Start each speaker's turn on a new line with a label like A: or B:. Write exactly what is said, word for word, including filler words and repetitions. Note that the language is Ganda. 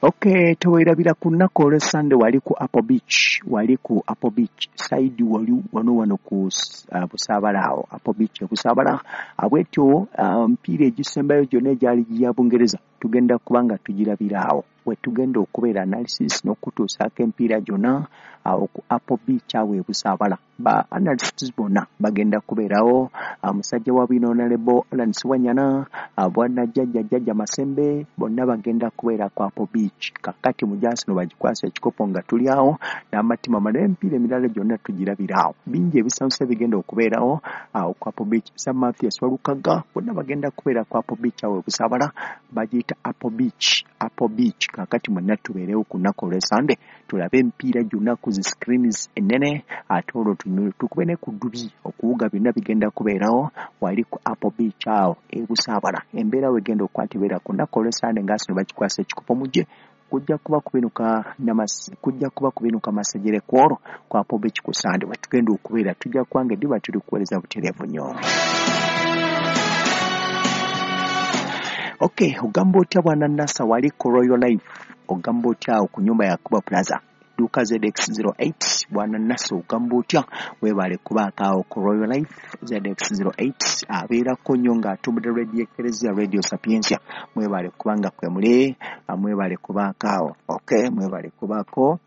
A: Okay, teweerabira ku nnaku olw'Essande wali ku Apple Beach, wali ku Apple Beach side, wali wano wano ku uh, Busaabala awo, Apple Beach e Busaabala. Bwetyo mpiira um, egisembayo gyonna egyali gya Bungereza tugenda kuba nga tugirabira awo we tugenda okubeera analysis n'okutuusaako empiira gyonna awo ku Apple Beach awo e Busaabala. Ba analysts bonna bagenda kubeerawo, musajja wa bwino Honorable Allan Ssewanyana, bwana jjajja jjajja Masembe, bonna bagenda kubeera ku Apple Beach. Kakati mu Jasino bagikwasa ekikopo nga tuli awo n'amatima mala, emipiira emirala gyonna tugirabira awo. Bingi ebisanyusa bigenda okubeerawo awo ku Apple Beach. Sir Mathias Walukaga, bonna bagenda kubeera ku Apple Beach awo e Busaabala, bagiyita Apple Beach, Apple Beach. Kakati mwenna tubeerewo ku nnaku olw'Essande tulabe emipiira gyonna ku zi screens ennene, ate olwo tukube ne ku ddubi okuwuga, byonna bigenda kubeerawo wali ku Apple Beach awo e Busaabala. Embeera wegenda okukwata ebeera ku nnaku olw'Essande nga Arsenal bagikwasa ekikopo, mujje kujja kuba kubinuka kujja kuba kubinuka masejere ku olwo ku Apple Beach ku Sande we tugenda okubeera. Tujja kubanga eddiba tuli kuweereza butereevu nnyo. Okay, ogamba otya bwana Nasa wali ku Royal Life? Ogamba otya awo ku nyumba ya Kuba Plaza dduuka Z X zero eight? Bwana Nasa ogamba otya? Weebale kubaako awo ku Royal Life Z X zero eight, abeerako nnyo ng'atumbudde Radio Eklezia, Radio Sapientia. Mwebale kubanga kwe muli, mwebale kubaako awo. Okay, mwebale kubaako.